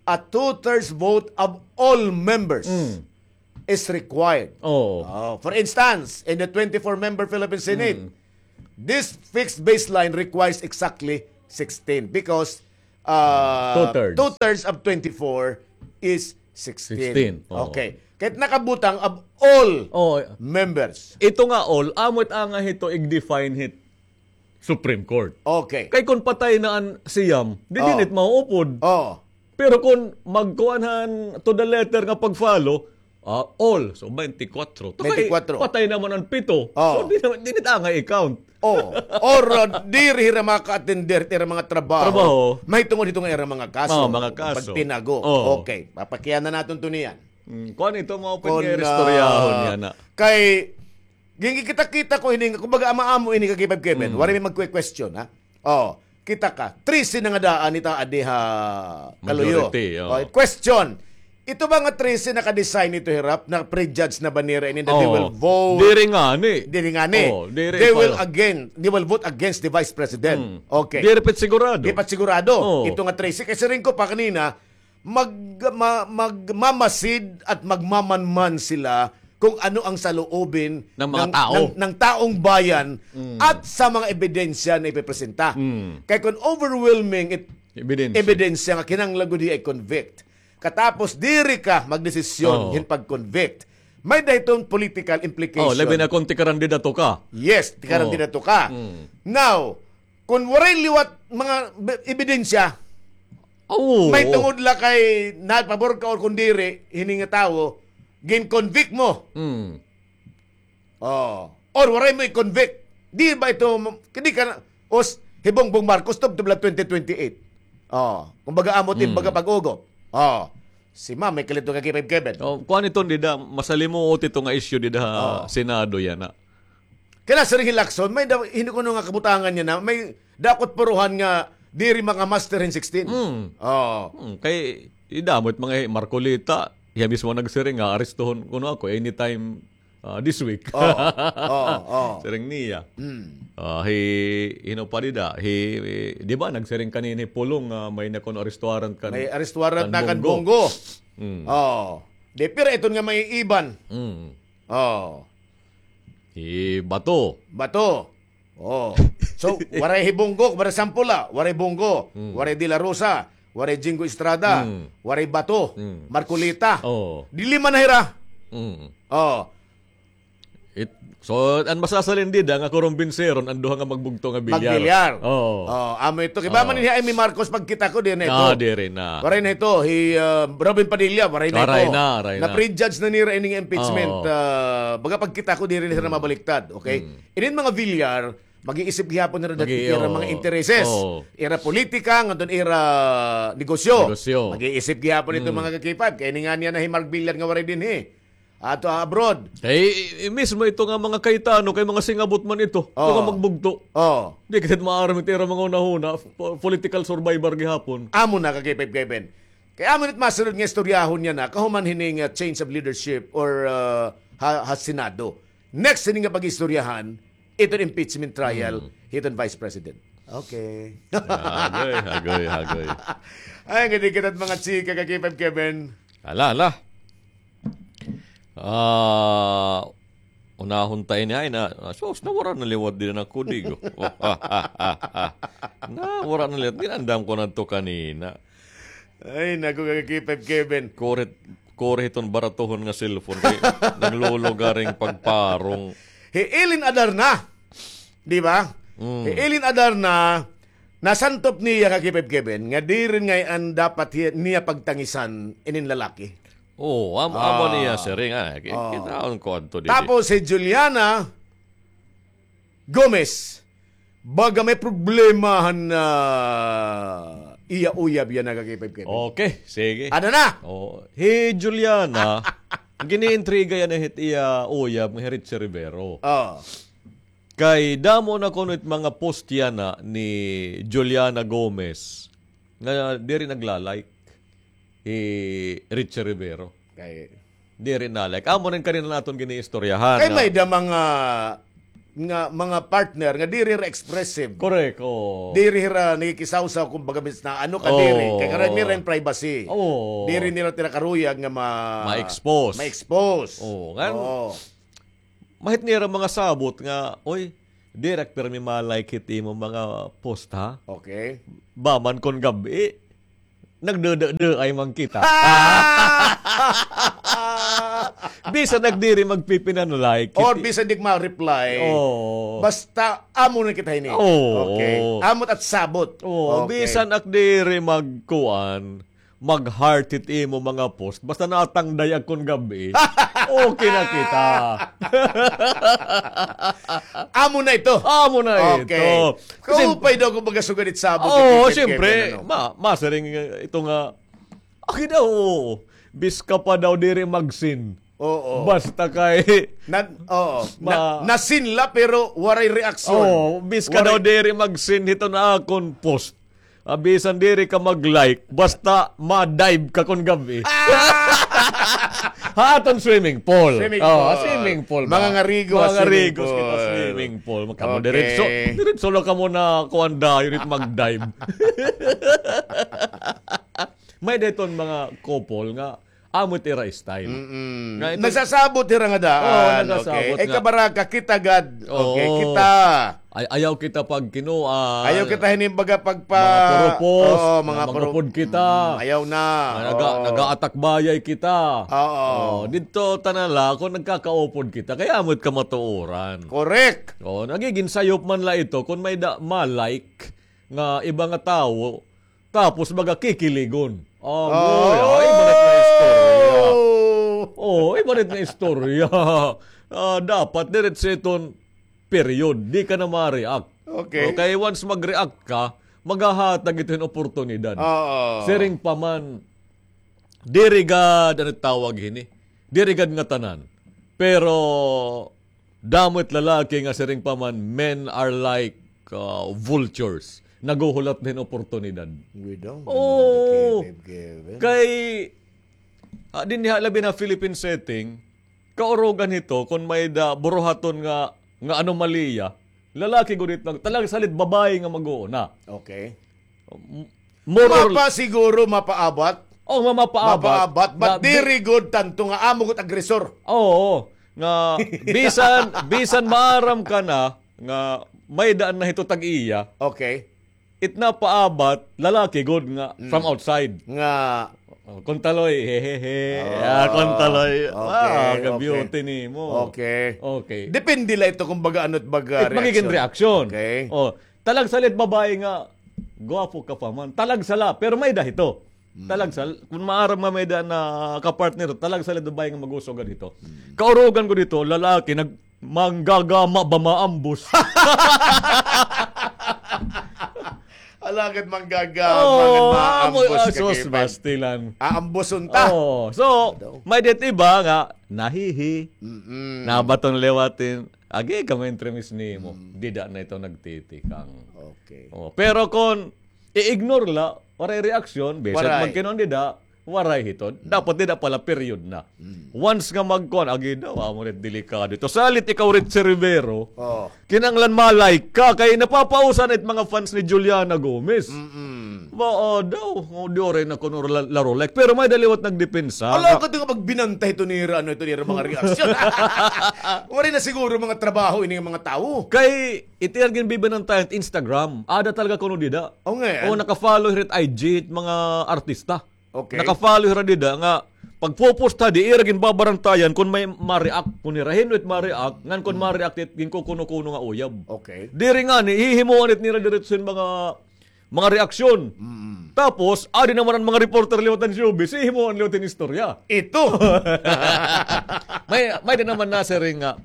a two-thirds vote of all members is required. Oo. Oh, for instance, in the twenty-four member Philippine Senate, this fixed baseline requires exactly sixteen because, uh, two-thirds. Two-thirds of twenty-four is sixteen. Sixteen, oo. Okay. Kahit nakabutang of all members. Ito nga all, amo it anga hito ig-define hit Supreme Court. Okay. Kay kon patay na an siyam, di dinhi it mahuupod. Oo. Pero kon magkuan han to the letter nga pag-follow, ah, all. So, twenty-four. Kay twenty-four. Patay naman an pito. Oo. So, di naman, dinhi it angay i-count. Oo. Or, uh, diri hira maka-attender it ira mga trabaho. Trabaho. Mahitungod hito nga ira mga kaso. Oo, mga kaso. Pagtinago. Oo. Okay. Papakiana naton to niyan. Mm, kuan ito, mao pa kon, nga istoryahon ah, niya na. Kay, gingikita-kita ko ini, kumbaga, ama-amo ini ka K five Kevin. Mm. Waray may magkwe-question, ha? Oh, kita ka. Trese na nga daan ita adi ha Kaluyo. Majority, oh. Oh, question. Ito ba nga trese naka-design ito, hirap? Na-prejudge na ba nira ini that they will vote? Diri ngani. Diri ngani. Oh, diri pala. They will again, they will vote against the vice president. Mm. Okay. Diri pa sigurado. Di pa sigurado. Oh. Ito nga trese. Kay siring ko pa kanina, mag-, ma-, magmamasid at magmamanman sila kung ano ang saloobin ng mga tao, ng, ng taong bayan at sa mga ebidensya na ipipresenta. Mm. Kay kung overwhelming it-, ebidensya nga kinahanglan gud hiya i-convict. Katapos diri ka magdesisyon hin pag-convict. May-ada hiton political implication. Oh, labi na kung tikarandidato ka. Yes, tikarandidato ka. Mm. Now, kon waray liwat mga be-, ebidensya, mahitungod la kay nagpabor ka or kon diri, hini nga tawo, gin-convict mo. Mm. Oh. Or waray mo i-convict. Di ba ito, di ka na, os, hi Bongbong Marcos, tubtob la twenty twenty-eight. Oh. Kumbaga, amo it baga pag-ugop. Oh. Si ma'am, may kalito ka K five Kevin. Oh, kuan ito, dida, masalimuot ito nga issue dida ha Senado yana. Kay la, Sir Hilakson, may da-, hindi ko nga kabutangan niya na, may dakot puruhan nga diri maka-muster hin sixteen. Mm. Oh. Mm, kay, idamot mga Marcoleta, iya mismo nagsiring nga, arestuhon kuno ako anytime, ah, this week. Oh, oh, oh. Siring niya. Mm. Ah, hi, hino pa dida, hi, di ba, nagsiring kanina hi Pulong nga may na kuno arrestuaran kan, may arrestuaran na kan Bongo. Mm. Oh. Di, pero iton nga may iban. Mm. Oh. Hi Bato. Bato. Oh. So, waray hi Bongo, waray sample la, waray Bongo, waray De La Rosa, waray Jingo Estrada, waray Bato, Marcoleta. Oh. Di lima na hira. Mm. Oh. It, so, an masasalin dida nga kurumbinseron an duha nga magbugto nga bilyar. Magbilyar. Oo. Oh, amo ito. Kay ba man hi Imee Marcos pagkita ko, diri na ito. Ah, diri na. Waray na ito. Hi, uh, Robin Padilla, waray na ito. Waray na, waray na. Na-prejudge na nira ining impeachment. Oo. Uh, baga pagkita ko, diri na sila mabaliktad. Okay? Mm. Inin mga bilyar, mag-iisip gihapon nira dati ira mga intereses. Oo. Ira politika, ngadton ira negosyo. Negosyo. Mag-iisip gihapon ito mga ka-K five. Kay ini nga niya na hi Mark Villar nga waray dinhi. Ato ha abroad. Kay, i-, mismo ito nga mga Cayetano, kay mga singabot man ito. Oo. Ito nga magbugto. Oo. Di kita maaram ito, ira mga hunahuna, po-, political survivor gihapon. Amo na, ka-K five Kevin. Kay amo na it masunod nga istoryahon niya na, kahuman hining, uh, change of leadership or, uh, ha, ha Senado. Next, hini nga pag-istoryahan, iton impeachment trial, hiton Vice President. Okay. Agoy, agoy, agoy. Ay, ngadi kita mga chika, ka-K five Kevin. Ala, ala. Ah, unahon ta ini, ay, na, na, sus, nawara na liwat din ako, digo. Nawara na liwat. Ginandam ko na to kanina. Ay, naku, ka-K five Kevin. Kuri, kuri hiton baratohon nga cellphone. Kay naglulugaring pagparong. Hi Eileen Adarna. Di ba? Mm. Hi Eileen Adarna, nasantop niya ka-K five Kevin, nga diri ngay-an dapat hi-, niya pagtangisan inin lalaki. Oo, am-, amo niya siring, ah. Ki-, kitaon ko adto didi. Tapos si Juliana Gomez, baga may problema han, ah, Iya uyab yana nga K five K P. Okay, sige. Ano na? Oh, hi Juliana, giniintriga yana hit iya uyab nga hi Richie Rivero. Oh. Kay damo na kuno it mga post yana ni Juliana Gomez nga diri nagla-like hi Richie Rivero. Kay diri na-like. Amo rin kanina naton giniistoryahan. Kay may da mga nga mga partner nga diri ra expressive. Correct, oo. Diri ra nakikisawsaw, kumbaga, bis na ano ka, diri. Kay karami ra in privacy. Oo. Diri nira tira karuyag nga ma-, ma-expose. Ma-expose. Oo, ngan, oo. Mahit nira mga sabot nga, "Oy, diri ak pirmi ma-like hit imo mga post, ha?" Okay. Ba man kon gab-i, nagdududud ay man kita. Bisan ak diri magpipinan-like. Or bisan di ka ma-reply. Oo. Basta amo na kita hini. Oo. Okay. Amo it at sabot. Oo, okay. Bisan ak diri magkuan, mag-heart hit imo mga post. Basta natangday ak kon gab-i. Okay na kita. Amo na ito. Amo na ito. Okay. Kasi kaupay daw kon magasugad it sabot. Oo, siyempre. Ma-, masiring, eh, ito nga, okay daw, oo. Bisan ka pa daw diri mag-seen. Oo. Basta kay na-, oo. Na-, na-seen la, pero waray reaksyon. Oo, bisan ka daw diri mag-seen hiton akon post. Ah, bisan diri ka mag-like, basta ma-dive ka kon gab-i. Ha aton swimming pool. Swimming pool. Swimming pool ba? Mangangarigos kita swimming pool. Kamo diretso, diretso la kamo na kuan dayon it mag-dive. May da iton mga couple nga amo it ira style. Mm-mm. Nagsasabot hira nga daan. Oo, nagsasabot nga. Ay, kabaraka, kita gad. Okay, kita. Ay, ayaw kita pagkinuan. Ayaw kita hini baga pagpa-, mga purupos, oo, mga purupos. Mangupod kita. Mm, ayaw na. Naga-, nag-aatakbayay kita. Oo. Oo, didto ta na la kon nagkakaupod kita. Kay amo it kamatuoran. Correct. Oo, nagiging sayop man la ito kon may da-, ma-like nga iba nga tawo, tapos baga kikiligon. Agoy, ay, iba na it nga istorya. Oh, iba na it nga istorya. Ah, dapat diretso iton period. Di ka na ma-react. Okay. Okay, once mag-react ka, maghahatag ito hin oportunidad. Oo. Siring pa man, diri gad, ano tawag hini? Diri gad ngatanan. Pero, damo it lalaki nga siring pa man, men are like, uh, vultures. Naghuhulat hin oportunidad. Oo. Kay, ah, dinhi ha labi na Philippine setting, kaurugan hito, kon may da buruhaton nga, nga anomalya, lalaki gud it mag-, talagsalit babaye nga mag-uuna. Okay. M-, more or mapa siguro, mapaabat. Oh, ma-, mapaabat. Mapaabat, but diri gud tanto nga amo gud agresor. Oo, nga bisan, bisan maaram ka na nga may daan na hito tag-iya. Okay. It napaabat, lalaki gud nga from outside. Nga, oh, kuntaloy, hehehe. Ah, kuntaloy. Okay, ah, ka-beauty nimo. Okay. Okay. Depende la ito kung baga ano it baga reaksyon. It magiging reaksyon. Okay. Oh, talagsalit babaye nga, gwapo ka pa man. Talagsa la, pero may da hito. Mm. Talagsa, kung maaram nga may da na kapartner, talagsalit babaye nga mag-usugad hito. Mm. Kaurugan gud hito, lalaki, nag-, manggagama ba maambos? Alagad manggagama, oh, maambos, ah, sus, bastilan. Aamboson ta. Oh, so, may da it iba nga, nahihi, nabaton liwatin, agi ka, ma-entremis nimo. Mm. Dida na ito nagtitikang. Okay. Oh, pero kon i-ignore la, waray reaksyon, bisan magkinuan dida, waray hito. Mm. Dapat dida pala period na. Mm. Once nga magkuan, agi daw, amo rin delikado ito. Salit ikaw, Richie Rivero, kinahanglan ma-like ka, kay napapausa na it mga fans ni Juliana Gomez. Mm-mm. Ba, ah, daw, oh, di oray na kuno la-, laro like. Pero may da liwat nagdepensa. Ala, nga, kadi nga pagbinantay ito nira, ano, ito nira mga reaksyon. Waray na siguro mga trabaho ini nga mga tawo. Kay, it ira ginbibinantayan it Instagram. Ada talaga kuno dida. O, nga. O, naka-follow hira it I G it mga artista. Okay. Naka-follow hira dida nga pagpo-post ha, di ira ginbabarantayan kon may ma-react, kon hira hin-o it ma-react, ngan kon ma-react it ginkukuno-kuno nga uyab. Okay. Diri ngani, hihimoan it nira diretso hin mga, mga reaksyon. Mm. Tapos, adi naman an mga reporter liwat han showbiz, hihimoan liwat hin istorya. Ito. May, may da naman nasiring nga,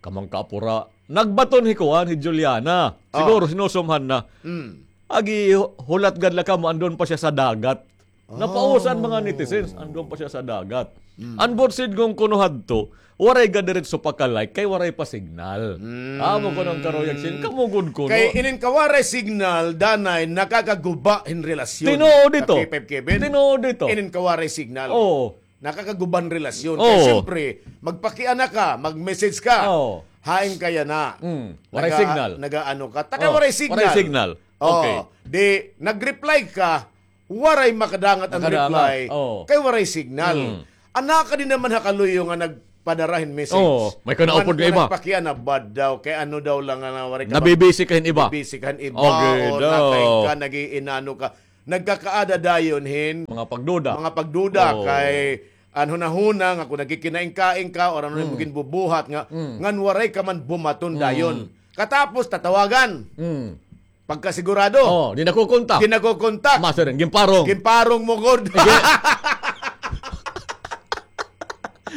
kamang kaapura. Nagbaton hi kuan, hi Juliana. Siguro sinusumhan na. Mm. Agi, hulat gad la kamo, andon pa siya sa dagat. Napausan mga netizens, andon pa siya sa dagat. An buot sidngon kuno hadto, waray gad diretso pa ka-like kay waray pa signal. Amo kuno an karuyag sin, kamo gud kuno. Kay inin kawaray signal, danay nakakaguba hin relasyon. Tinuod ito. Ka K five Kevin. Tinuod ito. Inin kawaray signal. Oo. Nakakaguba hin relasyon. Kay siyempre, magpakiana ka, mag-message ka. Oo. Hain ka yana. Mm. Waray signal. Nagaano ka. Taka waray signal. Waray signal. Oo. Okay. Di, nag-reply ka, waray makadangat an reply. Oo. Kay waray signal. Mm. Ana ka din naman ha kaluyo nga nagpadara hin message. Oo. May kanaupod nga iba. Nagpakiana bad daw. Kay ano daw lang nga waray ka. Nabibisi ka hin iba. Nabibisi ka hin iba. Okay, o daw. Nakain ka, nag-iinano ka. Nagkakaada dayon hin mga pagduda. Mga pagduda kay an hunahuna nga kung nagkikinain-kain ka or ano imo ginbubuhat nga, ngan waray ka man bumaton dayon. Katapos tatawagan. Pagkasigurado. Oh, di nakukontak. Di nakukontak. Masiring, ginparong. Ginparong mo gud.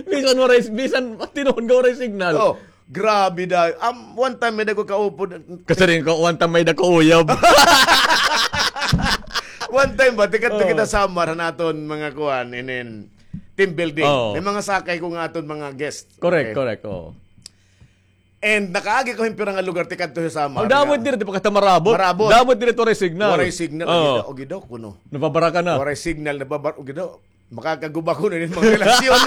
Bisan waray, bisan tinuod nga waray signal. Oh, grabe da. Um, one time may-ada ko kaupod. Kasiring ko, one time may-ada ko uyab. One time ba, tikadto kita Samar, han aton mga kuan, inin team building. Oo. May mga sakay ko nga aton mga guest. Correct, correct, oo. And nakaagi ko hin pira nga lugar tikadto ha Samar. Damo it diri, di pa kita marabot. Marabot. Damo it diri, waray signal. Waray signal. Oo. Agi daw, agi daw kuno. Nababara ka na. Waray signal, nababar-, agi daw. Makakaguba kuno inin mga relasyon.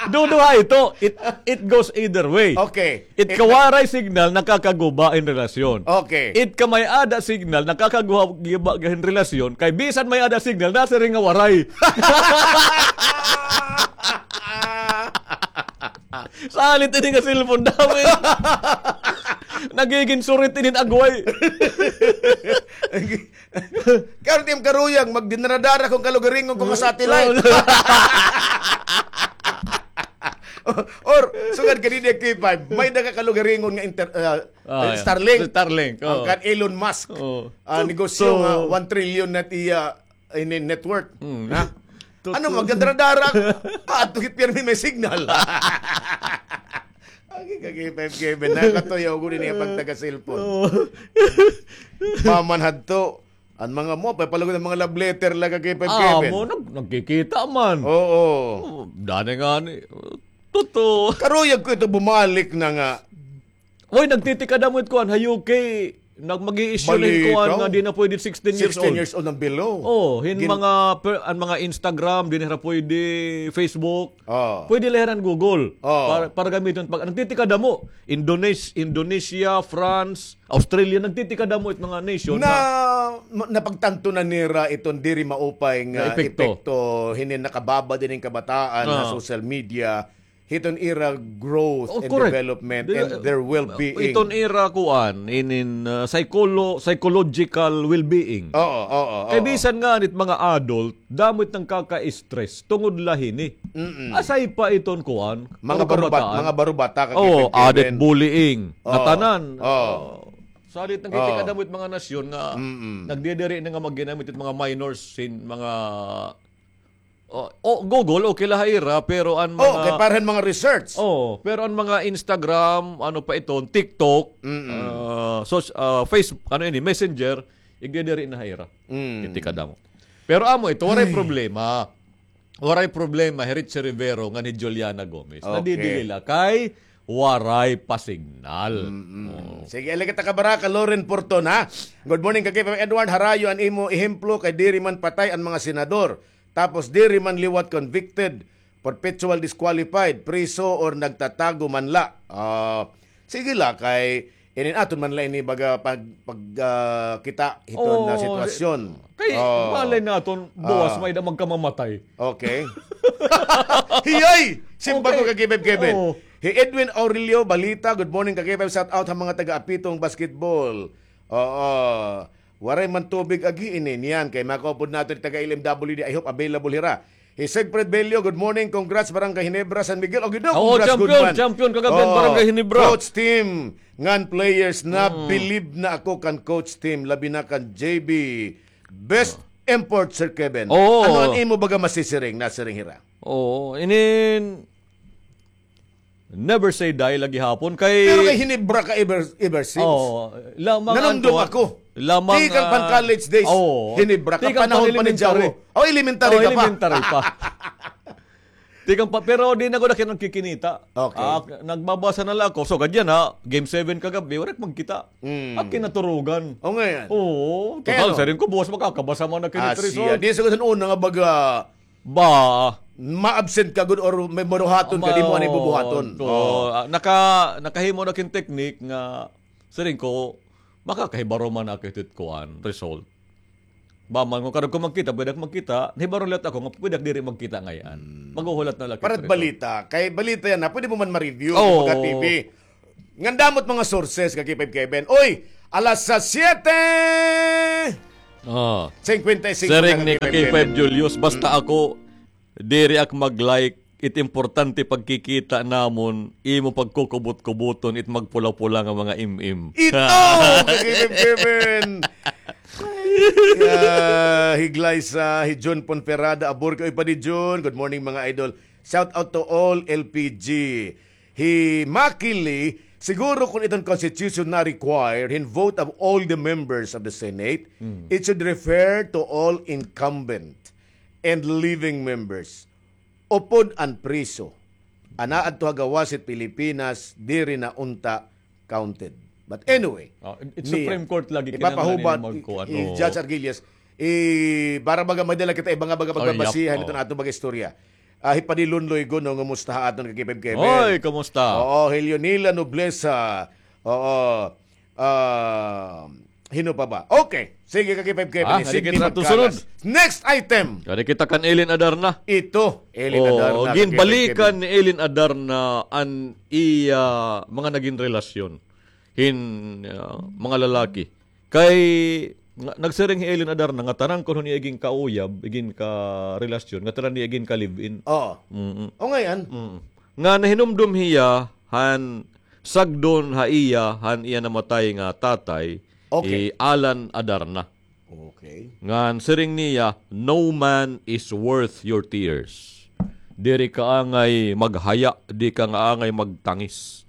Duduha ito. It, it goes either way. Okay. It kawaray signal, nakakaguba hin relasyon. Okay. It kamay-ada signal, nakakaguba hin relasyon. Kay bisan may-ada signal, nasiring nga waray. Salit ini nga cellphone, damo ini. Nagigin surit inin agway. Karon tim karuyag, magdinradara kung kalugaringon ko nga satellite. Or, sugad kanina K five, may-ada ka kalugaringon nga inter-, ah, Starlink. Starlink, oh. Kan Elon Musk. Oh. Ah, negosyo nga one trillion na it iya ini network. Ha? Ano, magdadara-dara? Ah, ato gid pirmi may signal. Agi ka, K five Kevin, nakatuyo ko din iya pagtaga-cellphone. Oo. Maman hadto, an mga mo, pay palagod an mga love letter la ka, K five Kevin. Ah, mo, nag-, nagkikita man. Oo. Oh, dani nga ni. Totoo. Karuyag ko ito bumalik na nga. Oy, nagtitikadamo it kuan ha U K, nag-, mag-i-issue na hin kuan nga di na pwede sixteen years old. Sixteen years old and below. Oh, hin mga per-, an mga Instagram, di na hira pwede, Facebook. Oh. Pwede la hira hin Google. Oh. Para, para gamiton pag, nagtitikadamo. Indones-, Indonesia, France, Australia, nagtitikadamo it mga nation na, na ma-, napagtanto na nira iton diri maupay nga epekto hinin nakababad hinin kabataan ha social media. Hiton ira growth and development and their well-being. Iton ira kuan, inin, ah, psycholo-, psychological well-being. Oo, oo, oo. Kay bisan nga nit mga adult, damo it nangkaka-stress tungod la hini. Aside pa iton kuan, mga barubata, mga barubata, added bullying, ngatanan. Oo. Salit nagtitikadamo it mga nasyon nga nagdidiri na nga magginamit it mga minors sin mga Oh, oh, Google, okay la ha ira, pero an mga, kay para han mga research. Oh, pero an mga Instagram, ano pa iton, TikTok, ah, so, ah, Facebook, ano ini, Messenger, igdidiri na ha ira. Tikadamo. Pero amo ito, waray problema. Waray problema hi Richie Rivero ngan hi Juliana Gomez. Nadidili la kay waray pa signal. Oo. Sige, ali kita kabaraka, Loren Porton, ha? Good morning, Ka K five Edward. Harayo an imo ehemplo kay diri man patay an mga senador. Tapos diri man liwat convicted, perpetual disqualified, priso or nagtatago man la. Ah, sige la, kay inin aton man la ini baga pag, pag, ah, kita hiton na sitwasyon. Kay malay naton, buwas may-ada magkamamatay. Okay. Hiyay! Simba ko, Ka K five Kevin. Oo. Hi Edwin Aurelio Balita, good morning, Ka K five, shout out ha mga taga Apitong Basketball. Oo. Waray man tubig agi ini niyan kay makaupod naton taga L M W D. I hope available hira. Hi Siegfried Bello, good morning. Congrats, Barangay Ginebra, San Miguel. O, gid daw, congrats, champion, good man. Champion kagab-i an Barangay Ginebra. Coach team, ngan players na, believe na ako kan coach team, labi na kan J B. Best import, Sir Kevin. Oo. Ano an imo baga masisiring, nasiring hira? Oo, inin Never say die la gihapon kay. Pero kay Ginebra ka ever, ever since. Oo, la, mga nanumdom ako. Lamang, tikang pan ah, college days, oo. Hinebra ka, tikang pan panahon pa ni elementary. Jawo. Oh, elementary ka pa. Elementary pa. Tikang pa, pero di na gud ako nagkikinita. Okay. Ah, nagbabasa na la ako. So, kadyan ha, game seven kagab-i, wala magkita. Mm. Ak kinaturugan. O, ngay-an. Oo, kay total, ano? Siring ko, buwas makakabasa man ako hin result. Di sa una nga baga, ba, ma-absent ka gud or may mabuhaton ka, di mo anay bubuhaton. Oo. Ah, naka-, nakahimo na ak hin technique nga, siring ko, makakahibaro man ako hit kuan, result. Ba man, kon karuyag ko magkita, pwede ak magkita. Nahibaro liwat ako nga pwede ak diri magkita ngay-an. Hmm. Maghuhulat na la ak hit result. Para balita. Kay balita yana, pwede mo man ma-review, oo, pagka T V. Ngan damo it mga sources, ka K five Kevin. Uy, alas siyete! Ah. Singkwenta y singko na, ka K five Julius, basta ako, diri ak mag-like, it importante pagkikita namon, imo pagkukubot-kuboton it magpula-pula nga mga im-im. Ito, ka K five Kevin! Ay, ah, hi Glyza, hi Jun Ponferrada, abor kay pa di Jun. Good morning, mga idol. Shout out to all L P G. Hi Maki Lee, siguro kon iton constitution na required hin vote of all the members of the Senate, it should refer to all incumbent and living members. Upod an priso. Ana adto ha gawas hit Pilipinas, diri na unta counted. But anyway, oh, it, it Supreme Court lagi kinahanglan ipapahubad ni magkuan, i, i, oh. Judge Argillas, i, para baga may dala kita iba nga baga pagbabasihan iton aton baga istorya. Ah, hi Padilon Loigo, no, ngumusta ha aton ka K five Kevin? Oy, kumusta? Oo, hi Leonila Nobleza. Oo. Ah, hino pa ba? Okay. Sige, ka K five Kevin. Ah, sige, sige, kita magkalas. Next item. Kadi kita kan Elin Adarna. Ito, Elin Adarna, ka K five Kevin. Ginbalikan ni Elin Adarna an iya mga nagin relasyon hin, ah, mga lalaki. Kay, nga, nagsiring hi Elin Adarna nga tanan kuno niya igin kauyab, igin karelasyon, nga tanan niya igin ka-live-in. Oo. Mm-mm. O, ngay-an. Mm. Nga nahinumdom hiya han sagdon ha iya, han iya namatay nga tatay, okay, hi Alan Adarna. Okay. Ngan siring niya, "No man is worth your tears." Diri ka angay maghaya, di ka nga angay magtangis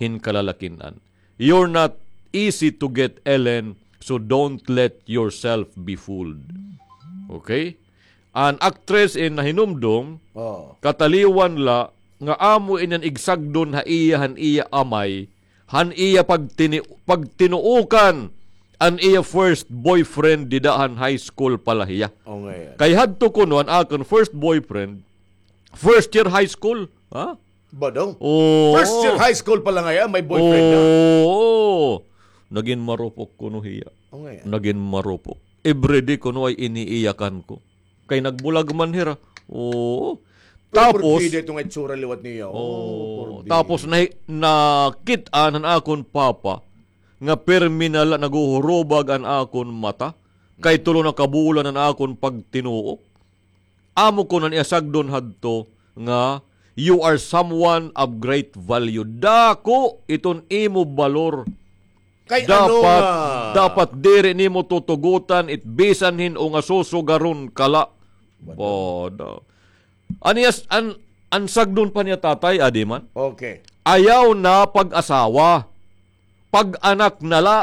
hin kalalakin-an. You're not easy to get, Ellen, so don't let yourself be fooled. Okay? An actress in nahinumdom, kataliwan la nga amo ini an igsagdon ha iya han iya amay, han iya pagtini-, pagtinuokan an iya first boyfriend dida han high school pa la hiya. O, ngay-an. Kay hadto kuno an akon first boyfriend, first year high school, ha? Ba daw? Oo. First year high school pa la ngay-an, may boyfriend na. Oo. Nagin marupok kuno hiya. O, ngay-an. Nagin marupok. Everyday kuno ay iniiyakan ko. Kay nagbulag man hira. Oo. Pero tapos, porbida ito nga itsura liwat niya. Oo. Tapos, nahi-, nakit-an han akon papa nga permi na la naghuhurubag an akon mata. Kay tulo na ka bulan an akon pagtinuok. Amo kuno an iya sagdon hadto nga, "You are someone of great value." Dako iton imo balor. Kay ano dapat, nga dapat diri nimo tutugotan it bisan hin-o nga susugaron ka la. Bada. Bada. An iya s-, an, an sagdon pa niya tatay, adi man. Okay. Ayaw na pag-asawa. Pag-anak na la,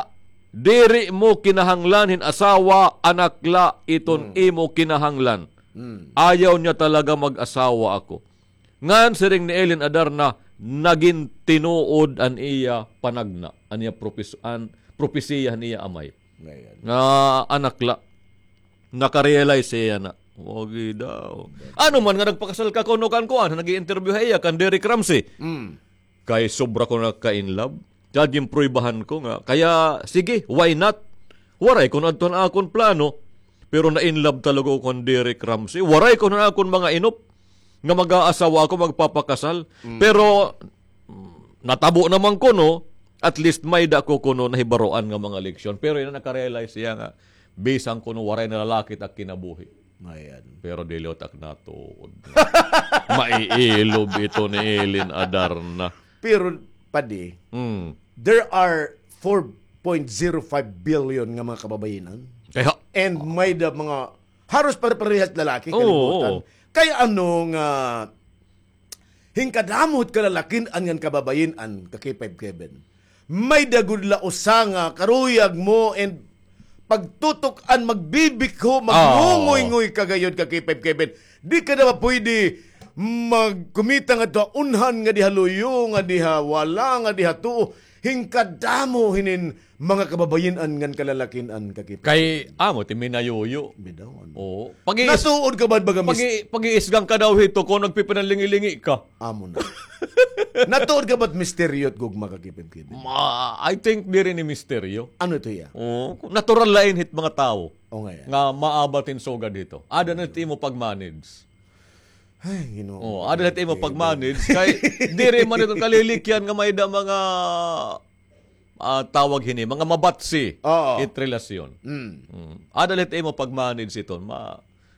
diri mo kinahanglan hin asawa, anak la iton imo kinahanglan. Ayaw niya talaga mag-asawa ako. Ngan siring ni Elin Adarna, nagin tinuod an iya panagna, an iya propis-, an propesiya han iya amay. Nga anak la. Naka-realize hiya na. Wagi daw. Ano man nga nagpakasal ka kuno kan kuan, nag-i-interview ha iya, kan Derek Ramsey. Kay sobra ko na ka-in love. Kay ginpruibahan ko nga. Kaya, sige, why not? Waray kuno adto an akon plano. Pero na-in love talaga ako kan Derek Ramsey. Waray kuno an akon mga inop nga mag-aasawa ako, magpapakasal. Pero, mm, natabo naman kuno, at least may-ada ko kuno nahibaroan nga mga leksyon. Pero yana, naka-realize hiya nga, bisan kuno waray na lalaki it ak kinabuhi. Ayan. Pero dili ak natuod. Maiilob ito ni Elin Adarna. Pero, padi, there are four point zero five billion nga mga kababayen-an. Kaya, and may-ada mga haros pare-parehas lalaki, oo, kalibutan. Kay ano nga, hin kadamo hit kalalakin-an ngan kababayen-an, ka K five Kevin, may-ada gud la usa nga karuyag mo and pagtutok-an, magbibikho, magngungoy-ngoy ka gayod ka K five Kevin. Di ka na ba pwede magkumita ngadto ha unhan nga di ha luyo, nga di ha wala, nga di ha tuo? Hingkadamo hinin mga kababayin-an ngan kalalakin-an ka K five Kevin. Kay amo ti minayuyo. Bitaw, ano? Oo. Pag-iis-, Natuod ka ba, baga, mis- pag-i-, pag-iisgang ka daw hito kung nagpipinanlingi-lingi ka. Amo na. Natuod ka ba't misteryo it gugma ka K five Kevin? Ma-, I think diri ni misteryo. Ano ito iya? Oo, natural lain hit mga tawo. O nga yan. Nga maabat hin sugad hito. Ada na it imo pag-manage. Ay, Ginoo. Oo, ada na it imo pag-manage. Kay diri man iton kalilikyan nga may da mga, ah, tawag hini, mga mabatsi Oo. it relasyon. Mm. Mm. Ada na it imo pag-manage iton. Ma-,